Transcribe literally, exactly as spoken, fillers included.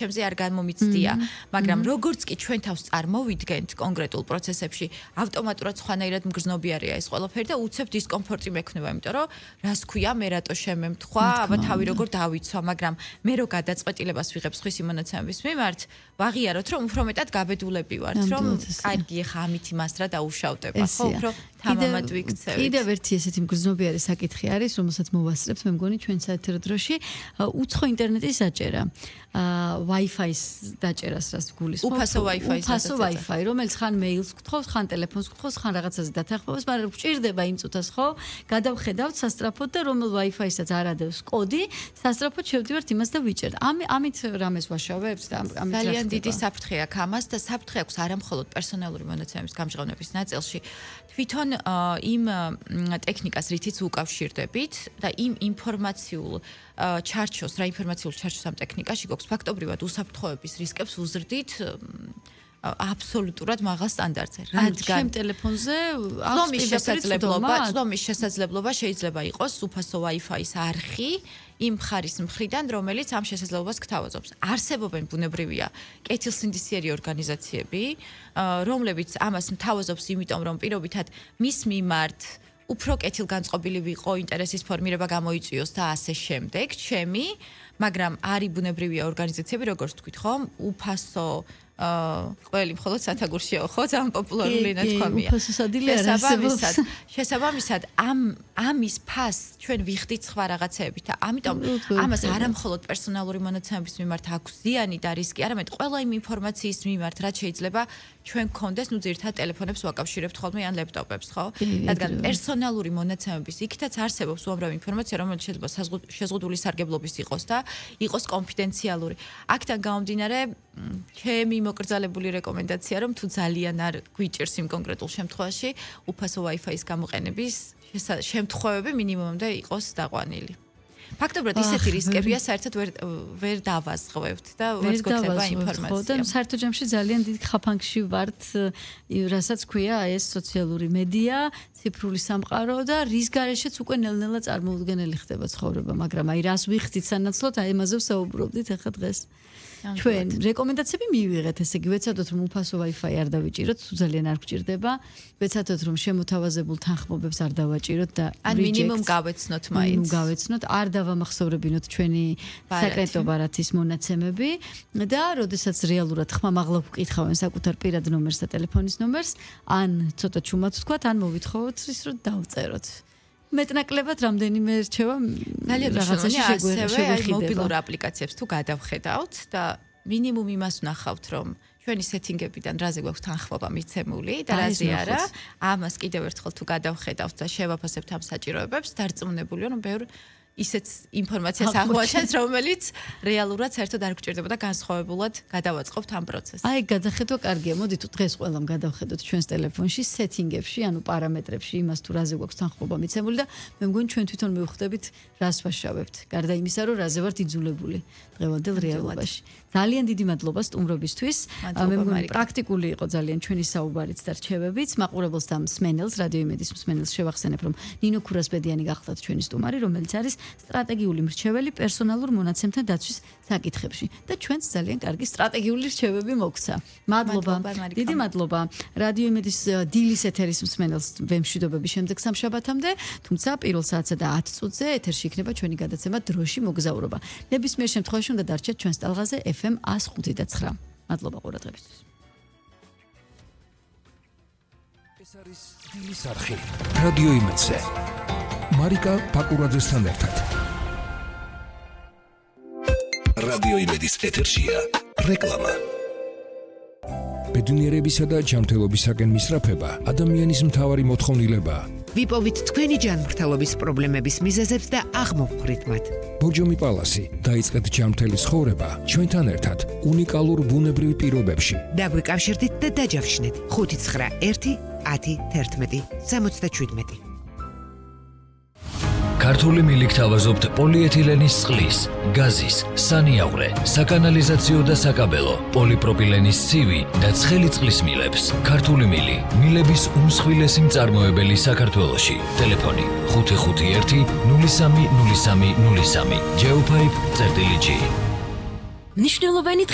ჩემზე არ განმომიცდია, მაგრამ როგორც კი ჩვენ თავს წარმოვიდგენთ კონკრეტულ პროცესებში, ავტომატურად სხვანაირად მგრძნობიარეა ეს ყველაფერი და უცებ დისკომფორტი მექნება, იმიტომ რომ რას ქვია, მე რატო შემემთხვა, აბა თავი როგორ დავიცვა, მაგრამ მე რო გადაწყვეტილებას ვიღებ სხვისი მონაცემების მიმართ, ვაღიაროთ, რომ უფრო მეტად გაბედულები ვართ, რომ კარგი ხა ამით იმას რა დაუშავდება, ხო, უფრო თამამად ვიქცევით. კიდევ ერთი ესეთი მგრძნობიარე საკითხი არის, რომელსაც მოვასწრებთ, მე მგონი ჩვენ საეთერო დროში, უცხო ინტერნეტის საჭერა. Wi-Fi-ის დაჭერას რას გულისხმობ? უფასო Wi-Fi-ის უფასო Wi-Fi, რომელიც ხან მეილს გთხოვს, ხან ტელეფონს გთხოვს, ხან რაღაცაზე დათანხმებას, მაგრამ გვჭირდება იმ წუთას, ხო? გადავხედავთ სასტრაფოდ და რომელ Wi-Fi-საც არ ადევს კოდი, სასტრაფოდ შევდივართ იმას და ვიჭერთ. ამით რამეს ვაშავებთ და ამით ძალიან დიდი საფრთხე აქვს ამას და საფრთხე აქვს არა მხოლოდ პერსონალური მონაცემების გამჟღავნების ნაწილში, თვითონ იმ ტექნიკას, რითიც უკავშირდებით და იმ ინფორმაციულ ჩარჩოს, რა ინფორმაციულ ჩარჩოს ამ ტექნიკაში გვაქვს ფაქტობრივად უსაფრთხოების რისკებს უზრდით აბსოლუტურად მაღალ სტანდარტზე. რადგან ტელეფონზე წვდომის შესაძლებლობა, წვდომის შესაძლებლობა შეიძლება იყოს უფასო Wi-Fi-ის არხი იმ მხარის მხრიდან, რომელიც ამ შესაძლებლობას გთავაზობს. არსებობენ ბუნებრივია კეთილსინდისიერი ორგანიზაციები, რომლებიც ამას მთავაზობს, იმიტომ რომ პირობითად მის მიმართ უფრო კეთილგანწყობილი ვიყო, ინტერესის ფორმირება გამოიწვიოს და ასე შემდეგ, ჩემი, მაგრამ არის ბუნებრივია ორგანიზაციები, როგორც თქვით, ხო, უფასო ყველი მხოლოდ სათაგურშიაო, ხო, ძალიან პოპულარული ნათქვამია. უფასო სადილე არ არსებობს. შესაბამისად, ამ ამის ფასს ჩვენ ვიხდით სხვა რაღაცეებით და ამიტომ ამას არა მხოლოდ პერსონალური მონაცემების მიმართ აქვს ზიანი და რისკი, არამედ ყველა იმ ინფორმაციის მიმართ, რაც შეიძლება ჩვენ გქონდეს, ნუ ძირითადად ტელეფონებს ვაკავშირებთ ხოლმე ან ლეპტოპებს, ხო? რადგან პერსონალური მონაცემების იქითაც არსებობს უამრავი ინფორმაცია, რომელიც შეიძლება შეზღუდული სარგებლობის იყოს და იყოს კონფიდენციალური. აქედან გამომდინარე, ჩემი მოკრძალებული რეკომენდაცია, რომ თუ ძალიან არ გვიჭირს იმ კონკრეტულ შემთხვევაში, უფასო Wi-Fi-ის გამოყენების შემთხვევები მინიმუმამდე იყოს დაყვანილი. ფაქტობრივად ისეთი რისკებია, საერთოდ ვერ ვერ დავაზღვევთ და ვერ გვექნება ინფორმაცია. ხო, და საერთო ჯამში ძალიან დიდ ხაფანგში ვართ, რასაც ქვია ეს სოციალური მედია, ციფრული სამყარო და რის გარეშეც უკვე ნელ-ნელა წარმოუდგენელი ხდება ცხოვრება, მაგრამ აი რას ვიხდით სანაცვლოდ, აი ამაზე ვსაუბრობდით ახლა დღეს. ჩვენ რეკომენდაციები მივიღეთ, ესე იგი ვეცადოთ რომ უფასო Wi-Fi არ დავიჭიროთ, თუ ძალიან არ გვჭირდება, ვეცადოთ რომ შემოთავაზებულ თანხმობებს არ დავაჭიროთ და ან მინიმუმ გავეცნოთ მაინც. მინიმუმ გავეცნოთ, არ დავამახსოვრებინოთ ჩვენი საკრეტო ბარათის მონაცემები და როდესაც რეალურად ხმამაღლა ვკითხავენ საკუთარ პირად ნომერს და ტელეფონის ნომერს, ან ცოტა ჩუმად ვთქვათ, ან მოვითხოვოთ ის რომ დავწეროთ. მეტნაკლებად რამდენიმე რჩევა რაღაცაში შეგვეხება მობილურ აპლიკაციებს თუ გადავხედავთ და მინიმუმ იმას ვნახავთ რომ ჩვენი სეტინგებიდან რაზე გვაქვს თანხმობა მიცემული და რაზე არა ამას კიდევ ერთხელ თუ გადავხედავთ და შევაფასებთ ამ საჭიროებებს დარწმუნებულია რომ ბევრ ისეთ ინფორმაციას აღვაჩენს, რომელიც რეალურად საერთოდ არ გვჭირდება და განსხვავებულად გადავაწყობთ ამ პროცესს. აი, გადახედვა კარგია. მოდით დღეს ყველამ გადავხედოთ ჩვენს ტელეფონში, სეტინგებში, ანუ პარამეტრებში, იმას თუ რაზე გვაქვს თანხმობა მიცემული და მე მგონი ჩვენ თვითონ მივხვდებით, რას ვაშავებთ. გარდა იმისა, რომ რაზე ვართ იძულებული დღევანდელ რეალობაში. ძალიან დიდი მადლობა სტუმრობისთვის. მე მგონი პრაქტიკული იყო ძალიან ჩვენი საუბარიც და რჩევებიც. მაყურებელს და მსმენელს, რადიო იმედის მსმენელს შევახსენებ, რომ ნინო ქურასბედიანი გახლდათ ჩვენი სტუმარი, რომელიც არის სტრატეგიული მრჩეველი პერსონალურ მონაცემთა დაცვის საკითხებში და ჩვენც ძალიან კარგი სტრატეგიული რჩევები მოგცა. მადლობა. დიდი მადლობა. რადიო იმედის დილის ეთერის მსმენელს ვემშვიდობები შემდეგ სამშაბათამდე, თუმცა პირველ საათსა და ათ წუთზე ეთერში იქნება ჩვენი გადაცემა დროში მოგზაურობა. ნებისმიერ შემთხვევაში უნდა დარჩეთ ჩვენს ტალღაზე ეფ ემ ას ხუთი და ცხრა. მადლობა ყურადღებისთვის. ეს არის დილის არხი. რადიო იმედზე. მარიკა პაკურაძესთან ერთად. რადიო იმედის ეთერშია რეკლამა. ბედნიერებისა და ჯანმრთელობისაკენ მისწრაფება ადამიანის მთავარი მოთხოვნილებაა. ვიპოვით თქვენი ჯანმრთელობის პრობლემების მიზეზებს და აღმოვხვრით მათ. ბორჯომი პალასი დაიწყეთ ჯანმრთელი ცხოვრება ჩვენთან ერთად უნიკალურ ბუნებრივ პირობებში. დაგვიკავშირდით და დაჯავშნეთ ხუთი ცხრა ერთი ათი თერთმეტი სამოცდაშვიდმეტი. ქართული მილიქ თავაზობთ პოლიეთილენის წყლის, გაზის, სანიავრე, საკანალიზაციო და საკაბელო, პოლიპროპილენის ცივი და ცხელი წყლის მილებს. ქართული მილი, მილების უმსხვილესი მწარმოებელი საქართველოში. ტელეფონი ხუთი ხუთი ერთი ნული სამი ნული სამი ნული სამი. Geopipe წერტილი G. მნიშვნელოვანი